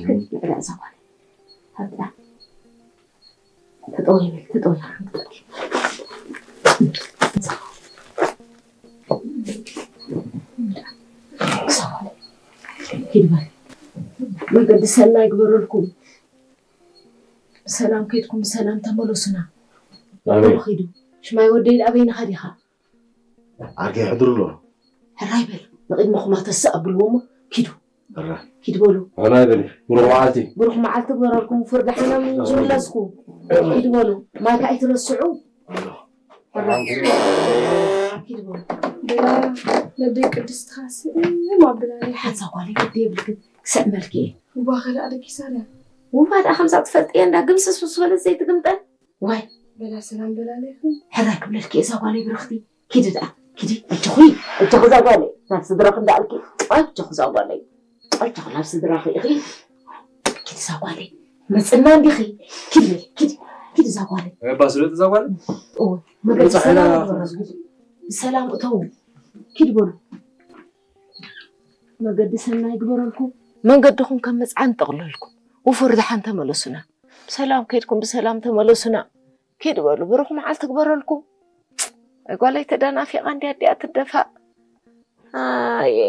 ንዕዳ እዛ ጓል። ሃብታ። ተጠወይ በል፣ ተጠወይ። ኪድ በል። መገዲ ሰናይ ግበረልኩም። ብሰላም ከይድኩም ብሰላም ተመለሱና። ኣሜን። ኪዱ። ሽማይ ወደይ ኣበይ ንኻ ዲኻ? ዓርከይ ሕድሩ ኣሎ። ሕራይ በል። ንቕድመኹማ ተስእ ኣብልዎ እሞ ኪዱ። ሕራይ። ኪድ በሉ። ሕራይ በል። ብሩኽ መዓልቲ። ብሩኽ መዓልቲ ግበረልኩም። ፍርዲ ሓናም ዝምለስኩ። ኪድ በሉ። ማይ ከኣ ኣይትረስዑ። ሕራይ። ኪድ በሉ። ብላ ነደይ ቅድስቲ ካስእ እም ኣብላኒ። ሓንሳ ጓለይ ግዲ የብልክን። ክስዕመልኪ እየ። እዋ ከላእ ደቂሳ ድያ? ውባ ደኣ ከምዛ ትፈልጥየ እንዳ ግምስስ ምስ በለት ዘይትግምጠን። ዋይ። በላ ሰላም በላለይኹም። ሕራይ ክብለልኪ እዛ ጓለይ ብርኽቲ። ኪዲ ደኣ። ኪዲ። እጆኺ። እጆኺ እዛ ጓለይ። ናብ ስድራኺ እንዳኣልኪ። ኣጆኺ እዛ ጓለይ። ኣጆኺ ናብ ስድራኺ ኢኺ። ኪዲ እዛ ጓለይ። መጽና እንዲኺ። ኪዲ በሊ። ኪዲ። ኪዲ እዛ ጓለይ። እባ ስለጥ እዛ ጓለይ? እወ። መገዲ ብጻሕ ሰላም ኢና ግበረልኩም። ብሰላም እተው። ኪድ በሉ። መገዲ ሰናይ ግበረልኩም። መንገድኹም ከም መጽዓን ጠቕለልኩም። ውፉር ደሓን ተመለሱና። ብሰላም ከይድኩም ብሰላም ተመለሱና። ኪድ በሉ። ብሩኽ መዓልቲ ግበረልኩም። ኣይ ጓለይ ተደናፊቓ እንድያ ኣዲኣ ትደፋእ። ኣየ።